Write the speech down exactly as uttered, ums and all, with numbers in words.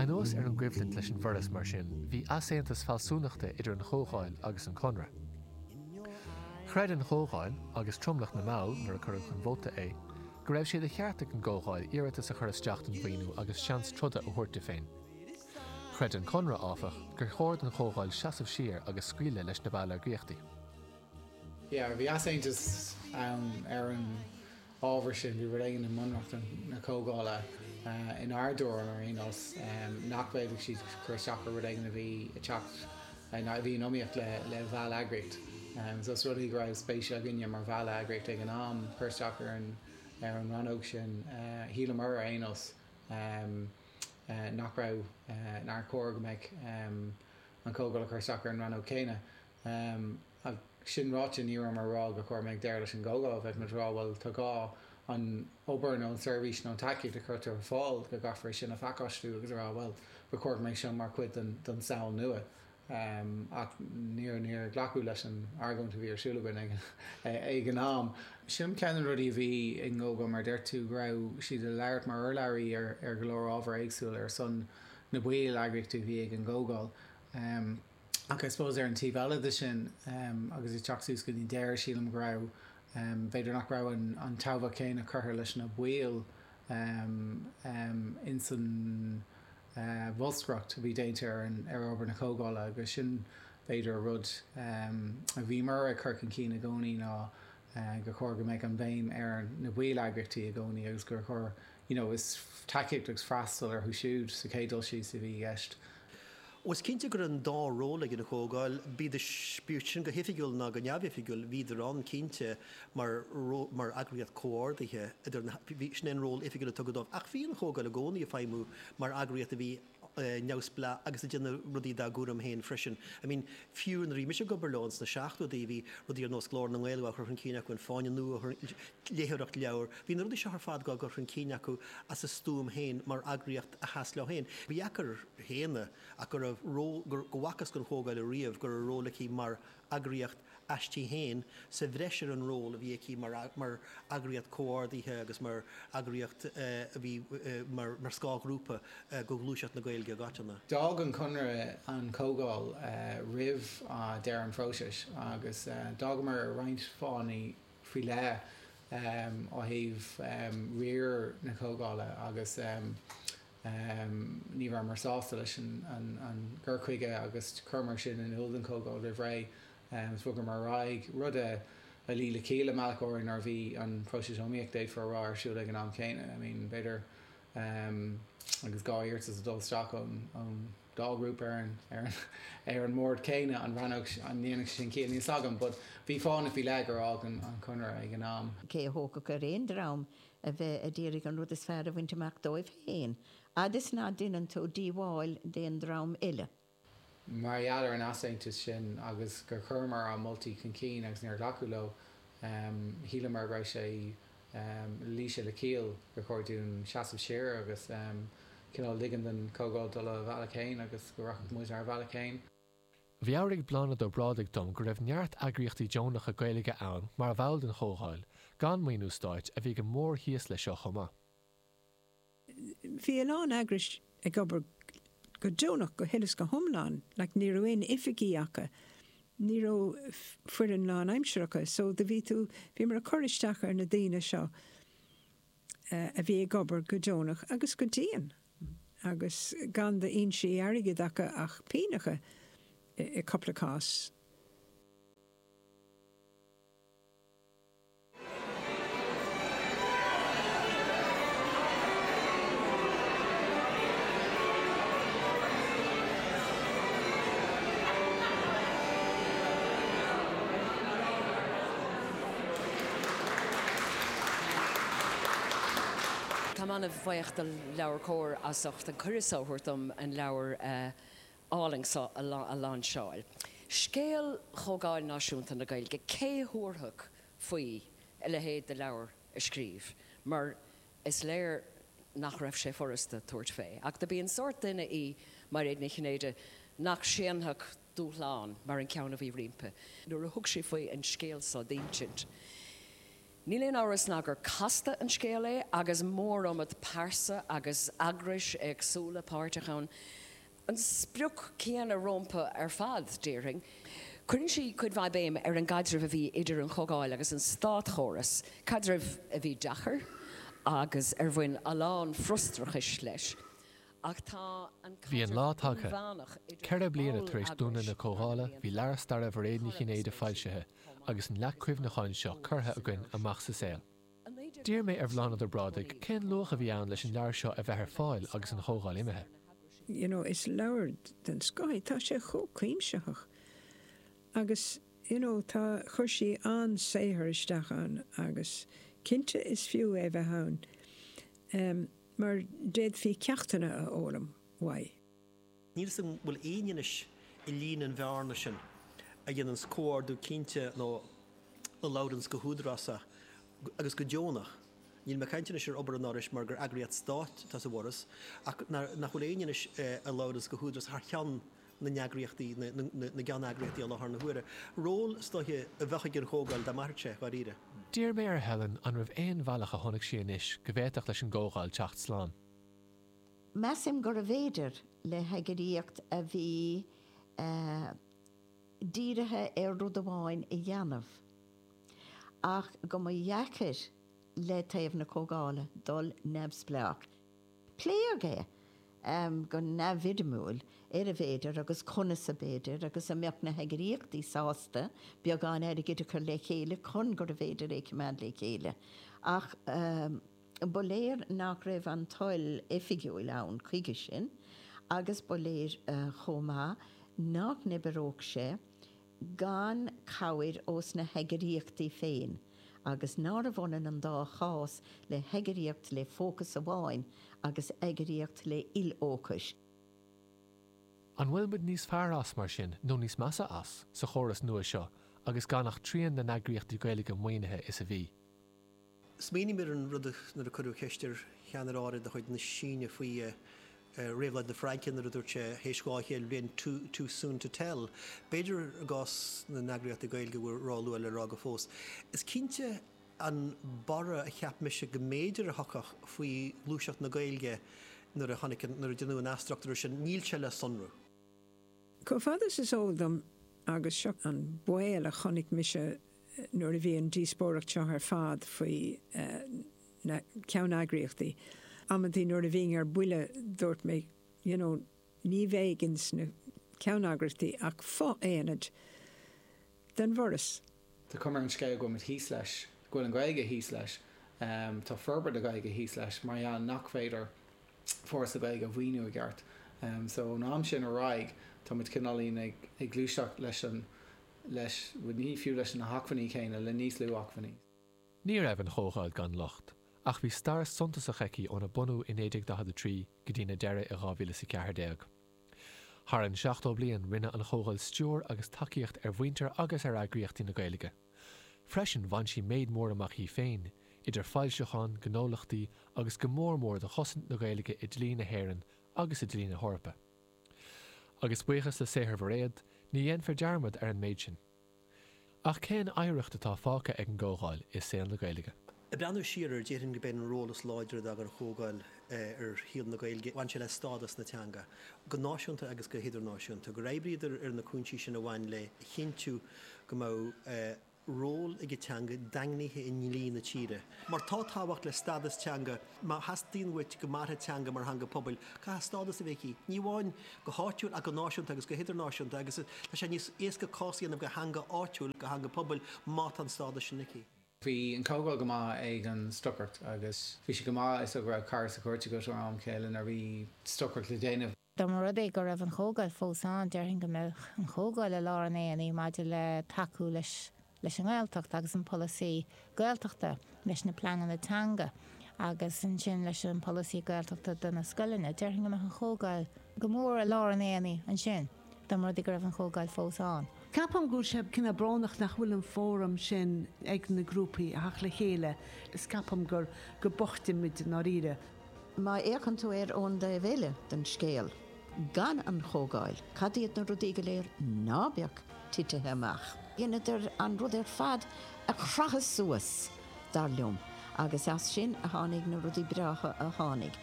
Anuas ar an gcoimhlint leis an bhForas mar sin, bhí easaontas fealsúnachta idir an Chomhdháil agus an Conradh. Chreid an Chomhdháil agus tromlach na mball nuair a cuireadh chun vóta é, go raibh sé de cheart ag an gComhdháil iarratas a chur isteach don mhaoiniú agus seans troda a thabhairt di féin. Chreid an Conradh áfach gur chóir don Chomhdháil seasamh siar agus scaoileadh leis na balleagraíochtaí. Yeah, bhí easaontas ann ar an ábhar sin bhí rud éigin i mbunreacht na Comhdhála inár dtuairim ar aon nós nach bhféadfadh siad cur isteach ar rud éigin a bhí ag teacht a bhí in iomaíocht le le bhall-eagraíocht. So is rud é go raibh spéis againne mar bhall-eagraíocht ag an am cur isteach ar an ar an rannóg sin shíleamar ar aon nós nach raibh nár chóir go mbeadh an Chomhdháil ag cur isteach ar an rannóg céanna. Ach sin ráite ní raibh mar rá go chóir mbeadh deireadh leis an gComhdháil, bheadh muid rá bhuel tá gá an obair nó an seirbhís nó an tacaíocht a chuirtear ar fáil go gcaithfear sin a phacáistiú agus a rá bhuel ba chóir go mbeadh seo mar chuid den den samhail nua. Ach níor níor glacadh leis an argóint a bhí ar siúl againn ag ag an am. Sin ceann de na rudaí a bhí i nGógó mar deir tú go raibh siad ag labhairt mar urlabhraí ar ar go leor ábhar éagsúil ar son na baill eagraíochtaí a bhí ag an gComhdháil. Ach I suppose ar an taobh eile de sin agus ag teacht suas go dtí deireadh sílim go raibh b'fhéidir nach raibh an an tábhacht chéanna curtha leis na baill ins an bholscaireacht a bhí déanta ar an ar obair na Comhdhála agus sin b'fhéidir rud a bhíomar ag cur chun cinn i gcónaí ná gur chóir go mbeadh an bhéim ar na baill eagraíochtaí i gcónaí agus gur chóir you know is tacaíocht agus freastal orthu siúd sa chéad dul síos a bhí i gceist. Ó is cinnte go raibh an dá ról ag an Chomhdháil, bíodh sin go hoifigiúil ná go neamhoifigiúil, bhíodar ann cinnte mar mar eagraíocht comhordaithe idir na, bhí, sin é an ról oifigiúil a tugadh dóibh. Ach bhí an Chomhdháil i gcónaí ag feidhmiú mar eagraíocht a bhí neamhspleách agus ag déanamh rudaí dá gcúram féin freisin. I mean, fiú nuair a bhí mise ag obair leo sna seachtóidí, bhí rudaí ar nós Glór na nGael á chur chun cinn acu, an Fáinne Nua, léitheoireacht leabhar, bhí na rudaí seo ar fad á gcur chun cinn acu as a stuaim féin mar eagraíocht a sheas leo féin. Ba dheacair a shéanadh ach go raibh ról, go bhfacthas don Chomhdháil ariamh go raibh ról aici mar eagraíocht aisti féin sa bhreis ar an ról a bhí aici mar mar eagraíocht comhordaithe agus mar eagraíocht a bhí mar mar scáthghrúpa do ghluaiseacht na Gaeilge i gcoitinne. D'fhág an Conradh an Chomhdháil roimh deireadh an phróisis agus d'fhágamar ar roinnt fáthanna faoi leith ó thaobh riar na Comhdhála agus ní rabhamar sásta leis an gcur chuige agus chuireamar sin in iúl don Chomhdháil roimh ré agus bhogamar ar aghaidh, rud a luigh le ciall i mbealach áirithe nuair a bhí an próiseas iomaíochta d'fhéadfá a rá ar siúl ag an am céanna. I mean b'fhéidir agus dhá iarratas ag dul isteach ón dá ghrúpa ar an ar an ar an mbord céanna an rannóg an ndéanfadh sé sin ciall níl a fhios agam but bhí fáthanna faoi leith gur fhág an Conradh ag an am. Cé a thógfadh ar aon dream a bheith a d'iarraidh an rud is fearr a bhaint amach dóibh féin, fhad is ná deineann tú díobháil d'aon dream eile. Mar gheall ar an easaontas sin agus gur chuireamar ár moltaí chun cinn agus níor glacadh leo, shíleamar go raibh sé, luigh sé le ciall gur chóir dúinn seasamh siar agus cineál ligean don Chomhdháil dul a bhealach féin agus go rachadh muid ár bhealach féin. Mheabhraigh Bláthnaid Ó Brádaigh dom go raibh neart eagraíochtaí deonacha Gaeilge ann mar bhall den Chomhdháil, gan maoiniú stáit, a bhí go mór thíos leis seo chomh maith. Bhí a lán eagrais ag obair go deonach go huile is go hiomlán, like ní raibh aon oifigí acu, ní raibh foireann lánaimseartha acu, so do bhí tú, bhíomar ag cur isteach ar na daoine seo a bhí ag obair go deonach agus go dian agus gan d'fhoinsí airgid acu ach pínneacha i gcúpla cás. Táim an-bhuíoch do LeabhairCOMHAR as ucht an cuireadh seo a thabhairt dom an leabhar álainn seo a lainseáil. Scéal Chomhdháil Náisiúnta na Gaeilge, cé thabharfadh faoi a leithéid de leabhar a scríobh mar is léir nach raibh sé furasta tabhairt fé. Ach do b'í an sórt duine í Mairéad Ní Chinnéide nach séanfadh dúshlán mar an ceann a bhí roimpi. Nuair a thug sí faoi an scéal seo d'insint, Níl aon amhras ná gur casta an scéal é agus mór iomad pearsa agus eagrais éagsúla páirteach ann. An sprioc céanna rompu ar fad, déarfainn. Cuireann sí cuid mhaith béim ar an gcaidreamh a bhí idir an Chomhdháil agus an státchóras, caidreamh a bhí deacair agus ar bhain a lán frustrachais leis. Ach tá an Bhí an lá caidreamh tagtha. inmheánach idir Ceithre bliana tar éis dúnadh na ball-eagrais Comhdhála, bhí leabhar staire Mhairéad Ní Chinnéide foilsithe agus an leac cuimhneacháin seo curtha againn amach sa saol. D'iarr mé ar Bhláthnaid Ó Brádaigh cén luach a bhí ann leis an leabhar seo a bheith ar fáil agus an Chomhdháil imithe. You know, is leabhar den scoth, tá sé chomh cuimsitheach. Agus you know, tá chuir sí an-saothar isteach ann agus cinnte is fiú é bheith ann. Um, mar d'fhéadfaí ceachtanna a fhoghlaim uaidh. Níl san bhfuil éinne anois i líon an bhearna sin a dhéananns comhordú cinnte nó a labhranns go húdarásach agus go deonach. Níl mé ag caint anois ar obair an Fhorais mar gur eagraíocht stáit atá sa bhForas ach nach bhfuil éinne anois a labhranns go húdarásach thar cheann na n-eagraíochtaí na gceanneagraíochtaí i láthair na huaire. Ról is dóiche a bheadh ag an Chomhdháil dá mairfeadh sé dháiríre. D'iarr mé ar Helen an raibh aon bhealach a chonaic sí anois go bhféadfadh leis an gComhdháil teacht slán. Measaim gurbh fhéidir le heagraíocht a bhí uh, dírithe ar rud amháin a dhéanamh. Ach go mba dheacair le taobh na Comhdhála dul neamhspleách. Pléadh é um, go neamhfhoirmiúil ar an bhféidir agus conas ab fhéidir agus an mbeadh na heagraíochtaí sásta beagán airgid a chur le chéile chun gurbh fhéidir é coimeád le chéile. Ach um, ba léir nach raibh an toil oifigiúil ann chuige sin, agus ba léir uh, chomh maith nach n-oibreodh sé gan cabhair ós na heagraíochtaí féin, agus nárbh ionann an dá chás le heagraíocht le fócas amháin agus eagraíocht le ilfhócas. An bhfuil muid níos fearr as mar sin nó níos measa as sa chóras nua seo agus gan ach trian na n-eagraíochtaí Gaeilge maoinithe is a bhí. Smaoiním ar an rud nuair a cuireadh ceist ar cheannaire áirid de chuid na Síne faoi réabhlóid na Fraince nuair a dúirt sé théis dhá chéad bliain too, too soon to tell. B'fhéidir i gcás na n-eagraíochtaí Gaeilge bhfuil róluath le rá go fós. Is cinnte an borradh a cheap mise go mb'fhéidir a thiocfadh faoi ghluaiseacht na Gaeilge nuair a tháinig nuair a deineadh an athstruchtúrú sin níl sé le sonrú. Chomh fada is eol dom agus seo an baol a chonaic mise nuair a bhí an díospóireacht seo ar fad faoi uh, na ceanneagraíochtaí. Amantaí nuair a bhínn ar buile dúirt mé you know, ní bheidh sna ceanneagraíochtaí ach fo-aonad den bhForas. Tá cuma ar an scéal go bhfuil thíos leis, go bhfuil an Ghaeilge thíos leis, um, tá forbairt na Gaeilge thíos leis mar gheall nach féidir Foras na Gaeilge a mhaoiniú i gceart. Um, so ón am sin ar aghaidh tá muid cineáilín ag, ag gluaiseacht leis an leis ní fiú leis na hacmhainní céanna le níos lú acmhainní. Ní raibh an Chomhdháil gan locht, ach bhí stair suntasach aici óna bunú in naoi déag daichead a trí go dtí na deireadh i dhá mhíle is a ceathair déag. Thar an seachtó bliain rinne an Chomhdháil stiúir agus tacaíocht ar mhuintir agus ar eagraíochtaí na Gaeilge. Freisin bhain sí méid mór amach í féin, idir foilseacháin, gnólachtaí agus go mór mór do chosaint na Gaeilge i dlí na hÉireann agus i dlí na hEorpa. Agus buíochas le saothar Mhairéad, ní dhéanfar dearmad ar an méid sin. Ach cén oidhreacht atá fágtha ag an gComhdháil i saol na Gaeilge. Ag breathnú siar ar déarfainn gurb é an ról is láidre d'fhág an Chomhdháil ar shaol na Gaeilge, bhain sé le stádas na teanga, go náisiúnta agus go hidirnáisiúnta, gur oibríodar ar na cúinsí sin a bhain le cinntiú go mbeadh ról ag an teanga daingnithe i ndlí na tíre. Mar tá tábhacht le stádas teanga, má theastaíonn uait go mairfidh teanga mar theanga pobail, caithfidh stádas a bheith aici. Ní amháin go háitiúil ach go náisiúnta agus go hidirnáisiúnta agus tá sé níos éasca cás a dhéanamh do theanga áitiúil do theanga pobail má tá an stádas sin aici. Bhí an Chomhdháil go maith ag an stocaireacht agus bhí sé go maith is go raibh cara sa chúirt go am chéile nuair a bhí stocaireacht le déanamh. Dá mba rud é go raibh an Chomhdháil fós ann déarfainn go mbeadh an Chomhdháil i lár an aonaigh maidir le tacú leis leis an nGaeltacht agus an polasaí Gaeltachta leis na pleananna teanga agus ansin leis an polasaí Gaeltachta do na scoileanna. Déarfainn go mbeadh an Chomhdháil go mór i lár an aonaigh ansin dá mba rud é go raibh an Chomhdháil fós ann. Ceapaim go bhfuil sé cineál brónach nach bhfuil an fóram sin ag na grúpaí a theacht le chéile. Is ceapaim gur go boichte muid dáiríre. Má fhéachann tú air ón dtaobh eile den scéal, gan an Chomhdháil, cad iad na rudaí go léir ná beadh titithe amach. Dheineadar an rud ar fad a chrochadh suas dar liom, agus as sin a tháinig na rudaí breátha a tháinig.